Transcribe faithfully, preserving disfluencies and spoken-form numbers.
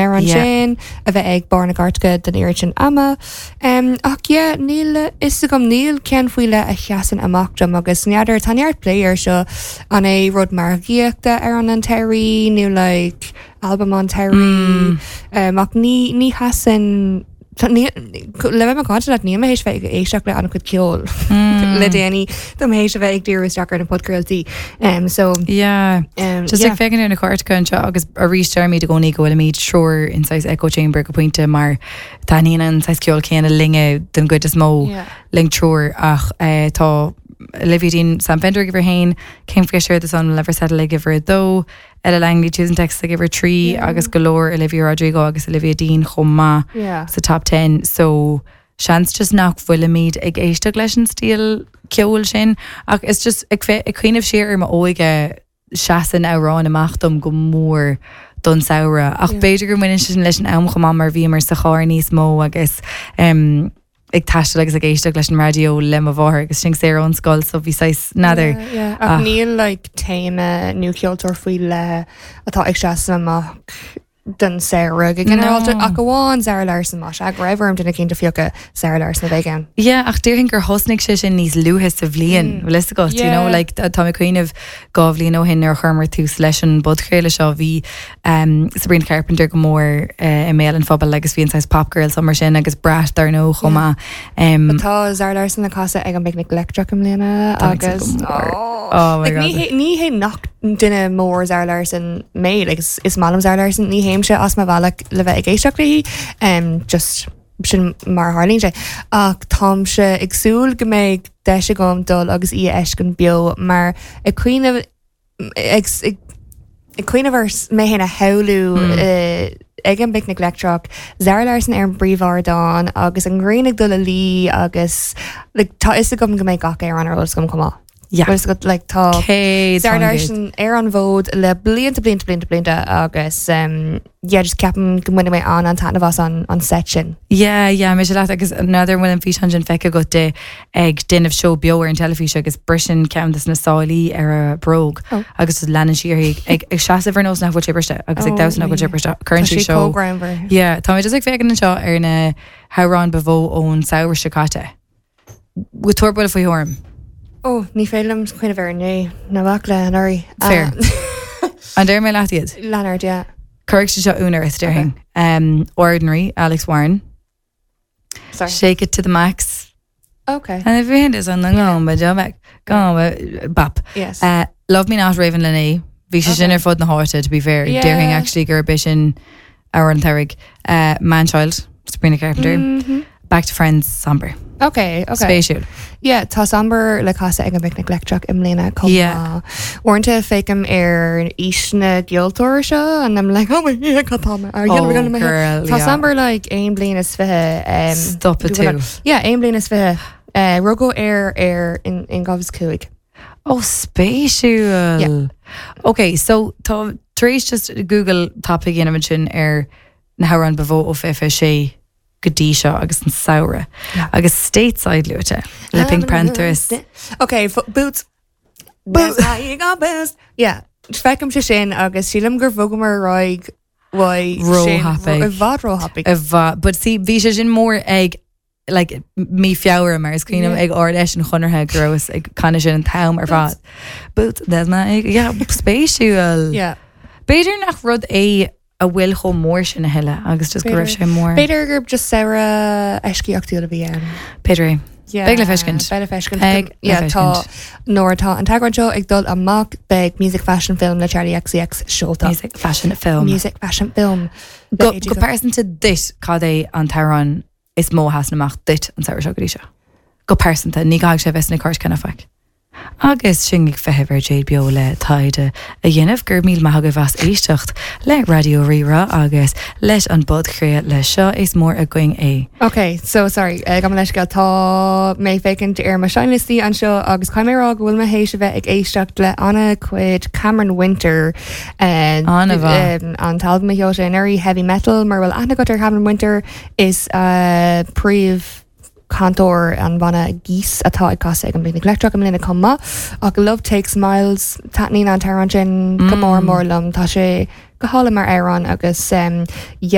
Amhrán Yeah. sin a bheith ag barr na gcairteacha don oiread sin ama. Um, ach yeah, níl a fhios agam níl ceann faoi leith a sheasann amach dom agus n'fheadar tá neart plé air seo an é rud margaíochta ar an an tsamhraidh nó like album an tsamhraidh um, ach ní ní sheasann tá- ní- le bheith macánta leat níl mé théis bheith ag éisteacht le an-chuid ceoil le déanaí Tá mé théis a bheith ag díriú isteach ar na podchraoltaí um, so Yeah. um, Just yeah. ag féachaint ar na cairteacha anseo agus arís deirimid i gcónaí go bhfuilimid triúr in saghas echo chamber go pointe mar taitníonn an saghas ceol céanna linne den gcuid is mó Yeah. linn triúr ach eh, tá Olivia Dean Sam Fender ag uimhir haon, Kingfisher The Sun Will Never Settle ag uimhir a dó, Ella Langley Choosing Texas ag uimhir trí Yeah. agus go leor Olivia Rodrigo agus Olivia Dean chomh maith Yeah. sa top ten so seans just nach bhfuilimid ag éisteacht leis an stíl ceoil sin ach is just ag fe- ag cuimhneamh siar ar m'óige seasann amhráin amach dom go mór don samhradh ach Yeah. b'fhéidir go mbaineann sin leis an am chomh maith mar bhíomar sa charr níos mó agus um, ag taisteal agus ag éisteacht leis an raidió le mo mháthair agus sinn saor ón scoil so bhí saghas n'fheadar Yeah, yeah. Ach Ach. níl like téama nó ceoltóir faoi leith atá ag seasamh amach don samhradh go ginearálta No. ach amháin Zara Larsson má go raibh orm duine éicint a phiocadh Zara Larsson a bheidh ann. Yeah, ach déarfainn gur thosnaigh sé sin níos luaithe sa bhliain mm. agat you know Yeah. like tá mé cuimhneamh dhá bhliain ó shin ar chuireamar tús leis an bpodchraoladh seo bhí um, Sabrina Carpenter go mór uh, i mbéal an phobail agus bhí an saghas pop girl summer sin agus Brat dar ndóigh chomh maith. Um, Tá Zara Larsson le casadh ag an bPicnic Leictreach i mbliana Tá mé agus go mór. Oh. Oh my Like, ní God. hé- ní hé nach duine mór Zara Larsson mé like, is, is maith liom Zara Larsson ní théimse as mo bhealach le bheith ag éisteacht léi um, just sin mar tharlaíonn sé ach táimse ag súil go mbeidh deis agam dul agus í a fheiscint beo mar ag cuimhneamh ag ag ag cuimhneamh ar mé féin a shamhlú Mm. eh, ag an bPicnic Leictreach Zara Larsson ar an bpríomhardán agus an ghrian ag dul a luí agus like, tá fhios agam go mbeidh gach amhrán ar eolas agam chomh maith. Yeah. Agus go like, tá Céad Zara faoin gcéad. Larsson ar an bhfód le blianta blianta blianta blianta agus um, yeah, just ceapaim go mbainfidh mé an an taitneamh as an an set sin. Yeah, yeah, mé leat agus n'fheadar bhfuil an físeán sin feicthe agat di ag déanamh seó beo ar an teilifís agus briseann ceann de na sálaí ar a bróg Oh. agus leanann sí ag ag ag seasamh ar nós nach bhfuil sé briste agus ag Oh, damhsa nach bhfuil sé yeah. briste cuireann Tá sí sí seó. cógramhar. Yeah, tá mé just ag féachaint anseo ar na hamhráin ba mhó ón samhradh seo caite. Tabhair buille faoi thuairim. Ó ní féidir cuimhneamh ar né na bhac le anuraidh. Fair. An déir mé leat iad? Leonard, yeah. Cuirfidh sé seo ionadh ort déarfainn. Um, Ordinary, Alex Warren. Sorry. Shake it to the max. Okay. And if your hand is on the go, but jump back, go, bap. Yes. Uh, Love Me Not Ravyn Lenae. Bhí sé sin Okay. ar fud na háite to be fair. Yeah. Déarfainn actually gur b'é sin amhrán an tsamhraidh. Uh, Manchild, Sabrina Carpenter. Mhm. Back to Friends, Somber. Okay, okay. Spéisiúil. Yeah, tá Somber le casadh ag an bPicnic Leictreach i mbliana chomh Yeah. maith. Uaireanta féachaim ar aois na gceoltóirí seo and I'm like, oh my God, cad tá mé- Oh, girl, Tá yeah. Somber like aon bliain is fiche. Um, Stop it Google too. Yeah, aon bliain is fiche. Uh, rugadh é ar in in dhá mhíle cúig. Oh, spéisiúil. Yeah. Okay, so tá tar éis just Google tapaidh a dhéanamh sin ar na hamhráin ba mhó ó fiche sé go dtí seo agus an samhradh. Agus Stateside luaite le PinkPantheress. Okay, f- boots. Boots. Boots. Yeah, feicim sé sin agus sílim gur bhogamar ar aghaidh Róthapaidh. I bhfad róthapaidh. A bha, but see bhí sé sin mór ag like mí Feabhra mar is cuimhin Yeah. ag Ard-Fheis an Chonartha go rabhas ag canadh sin an t-am ar fad. Boots there's my yeah spéisiúil. Yeah. B'fhéidir nach rud é a bhfuil chomh mór sin a thuilleadh agus just go raibh sé mór. B'fhéidir gur just samhradh eisceachtúil a bhí ann. B'fhéidir é. Yeah, Beidh le feiscint. Beidh le feiscint. Beidh le Yeah, tá feiscint. nuair atá an t-eagrán seo ag dul amach beidh Music Fashion Film le Charli XCX seolta. Music fashion film. Music Fashion Film. Go go pearsanta duit cad é an t-amhrán is mó a sheasann amach duit an samhradh seo go dtí seo. Go pearsanta ní gá sé bheith sna cairteacha faic. Agus sinn ag feitheamh ar Jade Beo le taighde a dhéanamh gur míle maith agaibh as éisteacht le Raidió Rí-Rá agus leis an bpodchraoladh seo is mór againn é. Okay, so sorry, uh, gabh mo leithscéal tá mé féachaint ar mo seinnliostaí anseo agus caithfidh mé rá go bhfuil mé théis a bheith ag éisteacht le an-chuid Cameron Winter uh, An-mhaith. um, an t-albam a sheol sé anuraidh heavy metal mar bhfuil aithne agat ar Cameron Winter is uh, príomh cantóir an bhanna Geese atá ag casadh ag an bPicnic Leictreach i mbliana chomh maith ach Love Takes Miles taitníonn an t-amhrán sin go mór mór liom tá sé go hálainn mar amhrán agus um,